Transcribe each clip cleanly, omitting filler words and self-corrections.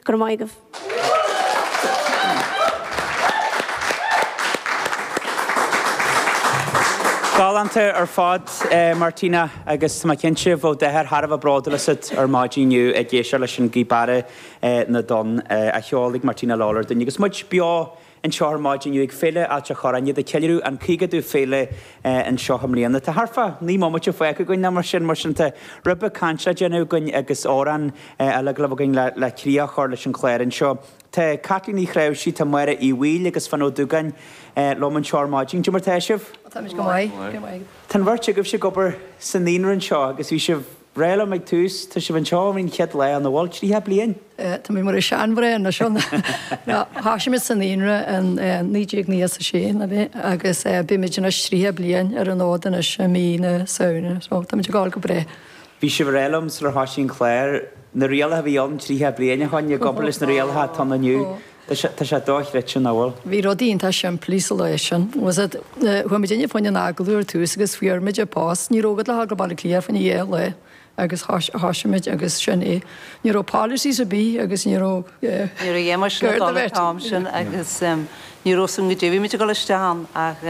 Go raibh maith agaibh. Galánta ar fad, Martina, agus tá mé cinnte bheadh d'athair thar a bheith bródúil asat ar maidin inniu ag éisteacht leis an Gaoth Beara na dTonn a cheol ag Martina Lawlor dúinn. Agus muid beo anseo ar maidin inniu ag Féile Ailt a' Chorráin, iad ag ceiliúradh an 50ú féile anseo i mbliana. Tá thart fá 9 mbomaite fágtha againn nó mar sin, mar sin tá ribe cainte le déanamh againn agus amhrán eile ag gabháil againn le críoch a chur leis an chlár anseo. Tá Caitlín Uí Chnáimhsí, tá Máire Uí Bhaoill agus Finn Ó Dúgáin liom anseo ar maidin. Cad é mar tá sibh? Táimid go maith. Go maith. Tá an bheirt agaibhse ag obair sa naíonra anseo agus bhí sibh ag rá liom ag tús, tá sibh anseo ón chéad lá, an bhfuil 30 bliain? Tá mé mar seanmhná anois ann. Thosaigh muid sa naíonra in 1996, ná b'é, agus beimid anois 30 bliain ar an fhód anois i mí na Samhna, so táimid ag gabháil go breá. Bhí sibh ag rá liom sular thoisigh an clár, na rialacha a bhí ann 30 bliain ó shoin i gcomparáid leis na rialacha atá ann inniu. Tá sé, tá sé dochreidte, nach bhfuil? Bhí rudaí iontach simplí sa lá sin. Was it, chuaigh muidinne fá choinne an agallamh ar tús agus fuair muid an post. Ní raibh agat le dhul go Baile Átha Cliath fá choinne dhá lá agus thoisigh muid agus sin é. Ní raibh policies ar bith agus ní raibh, yeah. Ní raibh a dhath mar sin ag dul an t-am sin agus ní raibh fhios agam goidé a bhí muid ag dul isteach ann ach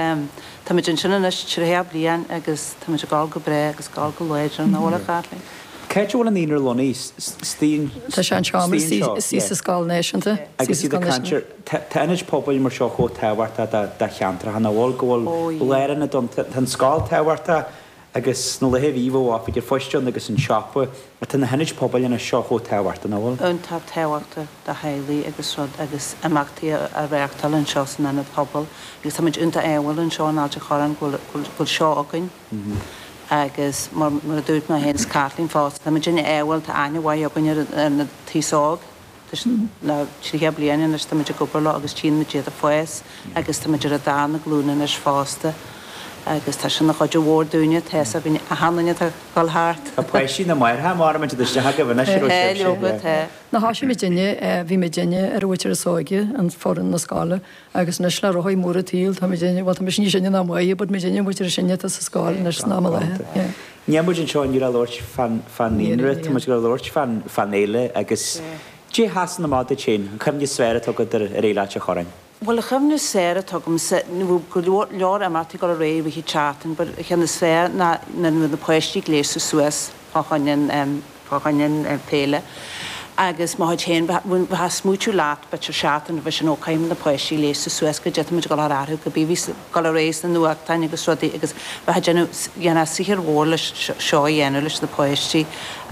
táimid ansin anois 30 bliain agus táimid ag gabháil go breá agus ag gabháil go láidir, nach bhfuil a Chaitlín? Cá háit a bhfuil an naíonra lonnaithe? Istigh Tá sé anseo istigh sa Scoil Náisiúnta. Agus iad ag caint ar, tá ionaid pobail mar seo chomh tábhachtach do cheantracha, nach bhfuil, go bhfuil lárionad ann, tá an scoil tábhachtach agus sna laetha a bhí, bheadh oifig an phoist ann agus an siopa, ach tá na hionaid pobail anois seo chomh tábhachtach, nach bhfuil? Iontach tábhachtach do theaghlaigh agus rud agus imeachtaí a reáchtáil anseo san ionad pobail agus táimid iontach ádhúil anseo in Ailt an Chorráin go bhfuil seo againn. Agus mar a dúirt mé féin is Caitlín fosta, táimid an-ádhúil, tá aithne mhaith againn ar an t-aos óg, le 30 bliain anois táimid ag obair leo agus tchíonn muid iad ag fás agus táimid ar an darna glúin anois fosta agus tá sin ina chuid mhór dúinne, tá fhios againn achan duine atá ag dul thart. Tá páistí na máithreacha maram iad isteach agaibh anois a raibh Tá, leoga, tá. Ná thoisigh muidinne, bhí muidinne ar an mhuintir is óige, an foireann na scoile, Agus anois le rothaí móra an tsaoil, tá muidinne, bhuel tá mise níos sine ná Máire, but muidinne an mhuintir is sine atá sa scoil anois san am i láthair, yeah. Níl muid anseo inniu le labhairt fán fán naíonra, tá muid ag labhairt fán fán fhéile agus cad é a sheasann amach duit féin, an chuimhne is fearr atá agat ar ar Fhéile Ailt an Chorráin? Bhuel, an chuimhne is fearr atá agamsa, bhí go leor leor imeachtaí ag dul ar aghaidh i rith an tseachtain, but an cheann is fearr ná nuair a bhí na páistí gléasta suas fá choinne an, fá choinne an féile agus mo chuid féin, bheifeá ag smaoitiú leat b'fhéidir seachtain roimhe sin, ó caithfidh na páistí gléasadh suas goidé tá muid ag dul a chur orthu, cibé a bhí ag dul ar aghaidh sna nuachtáin agus rudaí agus bheifeá ag déanamh, dhéanfá saothar mhór leis seo a dhéanamh leis na páistí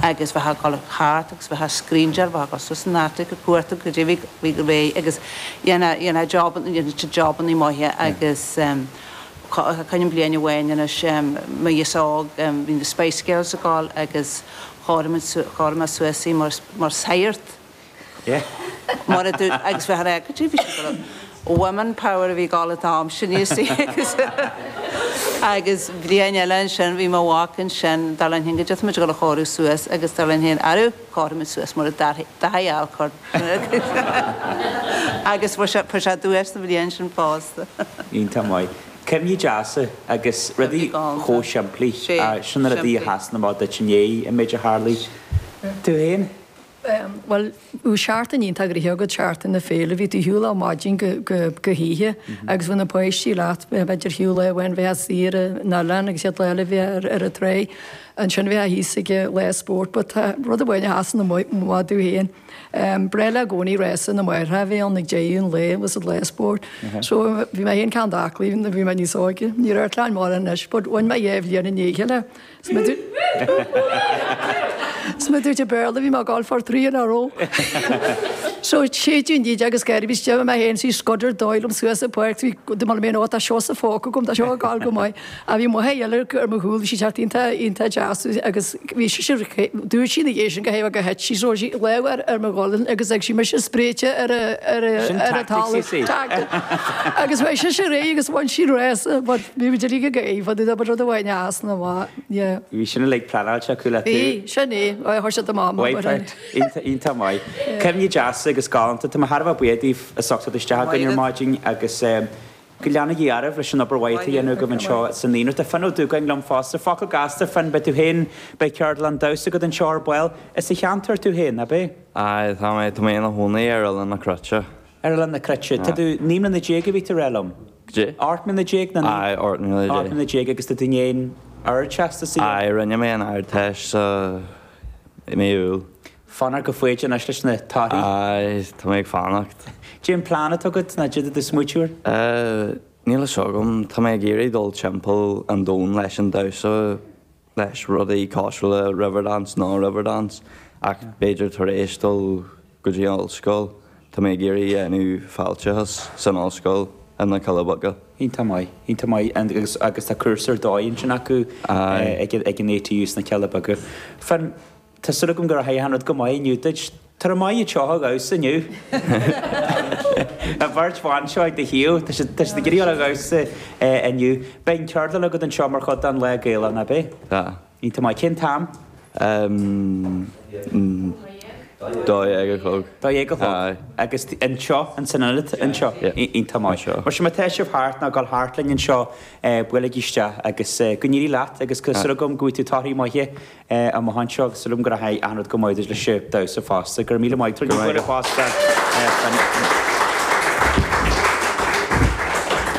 agus bheifeá ag dul thart agus bheifeá ag scríndéáil, bheifeá ag dul suas san attic ag cuartú goidé a bhí ag rith agus dhéanfá, dhéanfá job, dhéanfá siad jobannaí maithe agus. Cuimhním bliain amháin anois, mo aos óg, bhí na Spice Girls ag gabháil agus chóirigh muid, chóirigh mé suas í mar, mar saghart. Mar a dúirt, agus bheith ar a, goidé bhí siad ag gabháil, Women Power a bhí ag gabháil an t-am sin, you see, agus, agus bliain eile ansin bhí mo mhac ansin, dar linn féin, goidé tá muid ag gabháil a chóiriú suas agus dar linn féin, arú, cóirigh muid suas mar a Daithí Alcorn. Agus fuair sé, fuair sé duais sa bhliain sin fosta. Iontach maith. Cuimhní deasa agus rudaí chomh simplí. Sin na rudaí a sheasann amach duit i ndiaidh an méid a tharlaigh. Tú féin? Bhuel, bhí seachtain iontach gnoitheach agat, seachtain na féile. Bhí tú ar shiúl ó maidin go, go, go hoíche agus bhí na páistí leat, b'fhéidir fiú lá amháin bheifeá saor ar an oileán agus an chéad lá eile bheifeá ar, ar an tráigh. Ansin bheifeá thíos ag lá spóirt but tá rud amháin a sheasann amach domh féin. Breá liom i gcónaí rása na máithreacha a bheith ann ag deireadh an lae was it lá spóirt. So bhí mé féin ceann d'aclaí nuair a bhí mé níos óige. Ní raibh plean mórán anois but bhain mé dhá bhliain i ndiaidh a chéile. 'S mar a dúirt an Béarla bhí mé ag gabháil for three in a row. So séideadh an díde agus gáire bhí istigh mé féin sí scuder dóigh liom suas an pháirc bhí do mé ó tá seo sa phóca agam tá seo ag gabháil go maith. Ach bhí máthair eile ar mo chúl, bhí sí teacht iontach, iontach deas agus bhí sise, dúirt sí ina dhiaidh sin go héag gur thit sí, so sí lámh ar, ar mo ghualainn agus ag sí mise spréite ar a, ar a, Sin ar a tactics, talamh. you see. Tactic. Agus bheadh sise réidh agus bhain sí rása, but bhí muid uilig ag gáire fá dtaobh de, but rud amháin a sheasann amach, yeah. Bhí sin uilig pleanáilte acu le tú. Bhí, sin é, chuir siad amach mé, but. Wipe out. Iontach maith. Cuimhní deasa agus galánta. Tá mé thar a bheith buíoch daoibh as ucht teacht isteach againn ar maidin agus. Go leana Dia oraibh leis an obair mhaith atá á dhéanamh agaibh anseo sa naíonra. Tá Finn Ó Dúgáin liom fosta. Focal gasta, Finn, beidh tú féin, beidh ceardlann damhsa agat anseo ar ball. As an cheantar tú féin, ab é? Aye, tá mé, tá mé ina chónaí ar Oileán na Cruite. Ar Oileán na Cruite. Tá tú 19 mbliana a bhí tú a rá liom? Goidé? 18 mbliana nó 19? Aye, 18 mbliana. 18 mbliana agus tá tú i ndiaidh an Ardteastas a dhéanamh? Aye, rinne mé an Ardteist sa mí Iúil. Fanacht go foighdeach anois leis na torthaí. Aye, tá mé ag fanacht. Cad é an plean atá agat nó cad é tá tú ag smaoitiú air? Eh, níl a fhios agam. Tá mé ag iarraidh dul timpeall an domhain leis an damhsa, leis rudaí cosúil le Riverdance nó Riverdance, ach b'fhéidir tar éis dul go dtí an ollscoil, tá mé ag iarraidh dhéanamh fáilteachas san ollscoil i na Cealla Beaga. Iontach maith, iontach maith agus agus tá cúrsa ar dóigh ansin acu ag ag an ATU sna Cealla Beaga. Finn, Tá súil agam go rachaidh achan rud go maith inniu duit. Tá tú maith anseo a dhamhsa inniu. An bheirt bhan seo ag do thaobh, tá siad tá siad ag iarraidh a dhul a dhamhsa inniu. Beidh an ceardlann agat anseo mar chuid den Lá Gaelach, nach beidh? Tá. Iontach maith. Cén t-am? 12 a chlog. 12 a chlog. Agus anseo, ins an ionad anseo? Iontach maith. Mar sin má tá sibh thart nó ag dul thart linn anseo, buailigí isteach agus go n-éirí leat agus tá súil agam go bhfaighidh tú torthaí maithe amach anseo agus súil agam go rachaidh achan rud go maith duit leis an damhsa fosta. Go raibh míle maith agat. Tabhair bualadh bos do Finn.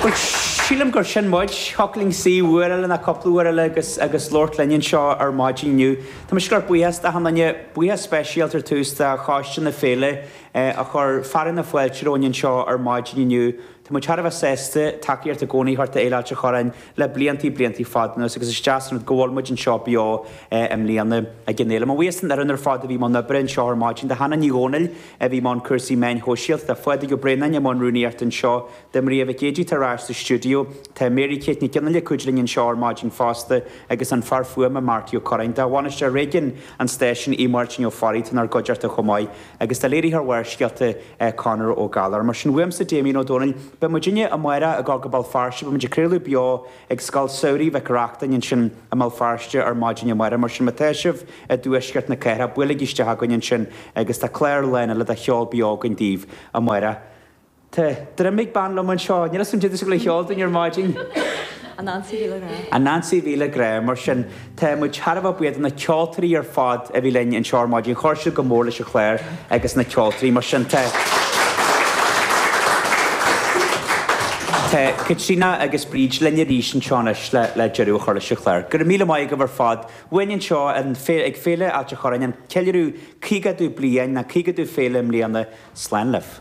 Bhuel, sílim gur sin muid. Thiocfadh linn suí uair eile nó cúpla uair eile agus agus labhairt linn anseo ar maidin inniu. Tá mise ag gabháil buíochas d'achan duine, buíochas speisialta ar tús do Choiste na Féile a chuir fearadh na fáilte romhainn anseo ar maidin inniu. Tá muid thar a bheith sásta tacaíocht i gcónaí a thabhairt do Fhéile Ailt an Chorráin le bliantaí, bliantaí fada anuas agus is deas an rud go bhfuil muid anseo beo i mbliana ag an fhéile. Mo bhuíochas don fhoireann ar fad a bhí i mbun oibre anseo ar maidin, do Hannah Ní Dhomhnaill a bhí i mbun cúrsaí meáin shóisialta, do Phádraig Ó Braonáin i mbun rúnaíochta anseo, do Maria Mhic Géidigh atá ar ais sa stiúideo, tá Mary Kate Nic Fhionnghaile ag cuidiú linn anseo ar maidin fosta agus an fear fuaime Marty Ó Curráin. Do bhainisteoir réigiúin an stáisiúin Aodh Máirtín Ó Fearraigh atá inár gcuideachta chomh maith. Agus do léiritheoir Bharrscéalta, Conor Ó Gallchóir. Mar sin, uaimse, Damien Ó Dónaill, beidh muidinne amárach ag dul go Béal Feirste, beidh muid ag craoladh beo ag Scoil Samhraidh Mhic Reachtain ansin i mBéal Feirste ar maidin amárach. Mar sin, má tá sibh i dtuaisceart na cathrach, buailigí isteach chugainn ansin agus tá clár lán eile de cheol beo againn daoibh amárach. Tá droim ag bean liom anseo. Níl 'fhios a'm cad é atá sí ag gabháil a cheol dúinn ar maidin. An Ansaí Mhíle Grá. An Ansaí Mhíle Grá. Mar sin, tá muid thar a bheith buíoch do na ceoltóirí ar fad a bhí linn anseo ar maidin. Chuir siad go mór leis an chlár agus na ceoltóirí. Mar sin, tá. Tá Caitríona agus Bríd linn arís anseo anois le le deireadh a chur leis an chlár. Go raibh míle maith agaibh ar fad. Uainn anseo ag Féile Ailt an Chorráin, an ceiliúradh 50ú bliain, nó 50ú féile i mbliana. Slán libh.